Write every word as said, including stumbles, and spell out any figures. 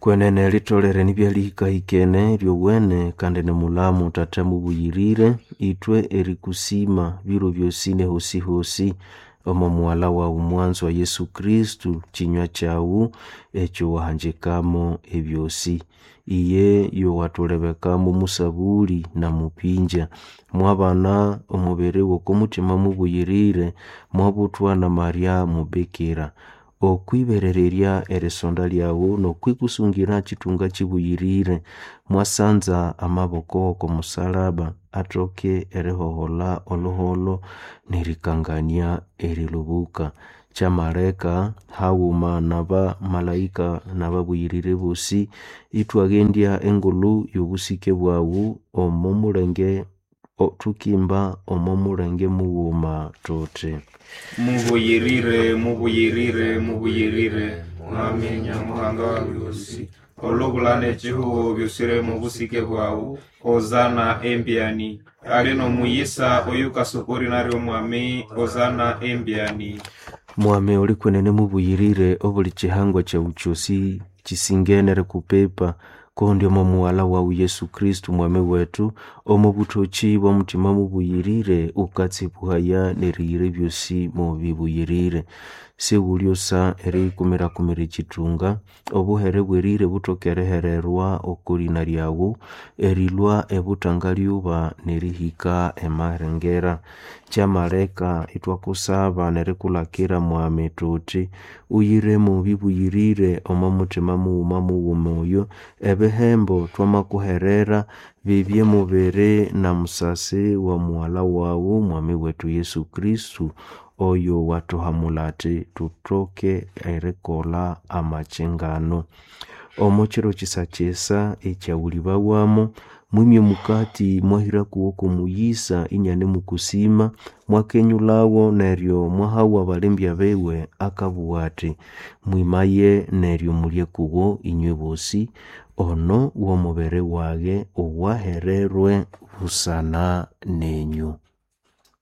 Kwenene litolere nibyalihikahikene lyowene kandi nimulamu Tata mubuyirire ithwe erikusima biro byosi nehosi-hosi omo mughalha wawu mwanzo wa Yesu Kristo kinywa kyawu ekyo wahanjikamo ebyosi. Iye yowathulebekamo musabuli na mupinja. Mwabana omubiri w'okomuthima mubuyirire, mwabuthwa na Maria mubikira. Okwiberererya erisonda lyawu n'okwikusungira kithunga kibuyirire, mwasanza amaboko oko musalaba athoke erihohola olhuholho n'erikangania erilubuka. Kyamaleka haghuma n'abamalaika n'ababuyirire bosi ithwaghendya engulhu y'obusike bwawu omo mulenge thukimba omo mulenge mughuma thuthi. Mubuyirire, mubuyirire, mubuyirire, Mwami Nyamuhanga wa byosi, olubula n'ekihugo byosire mu busike bwawu, Hosana embyani. Ali n'omuyisa oyukasukuri naryo Mwami, Hosana embyani. Mwami oli kwenene mubuyirire obuli kihangwa kyawu kyosi kisingene erikupipa kundi omo mughalha wawu Yesu Kristo mwami wethu omo buthoki bw'omuthima mubuyirire ukatsibuhaya n'eriyira ebyosi mubibuyirire. Siwulyosa eriyikumirakumira ekithunga obuhere bwerire buthoke erihererwa oko lina lyawu erilhwa ebuthangalyuba n'erihika emalengera. Kyamaleka ithwakusaba n'erikulhakira mwami thuthi uyiremo bibuyirire omo muthima mughuma mughuma oyo ebihembo twamakuherera bibye mubiri na musasi wa mughalha wawu mwami wethu Yesu Kristo oyo wathuhamulha athi thuthoke erikolha amakyingano. Omo kiro kisa-kisa ekyawulibawamo mwimye omukati mwahira kuwo kw'omuyisa inianemukusima mwakenyulhawo neryo mwahawa abalembya biwe akabugha athi mwimaye neryo mulye kuwo inywe bosi ono w'omubiri wage owahererwe busana nenyu.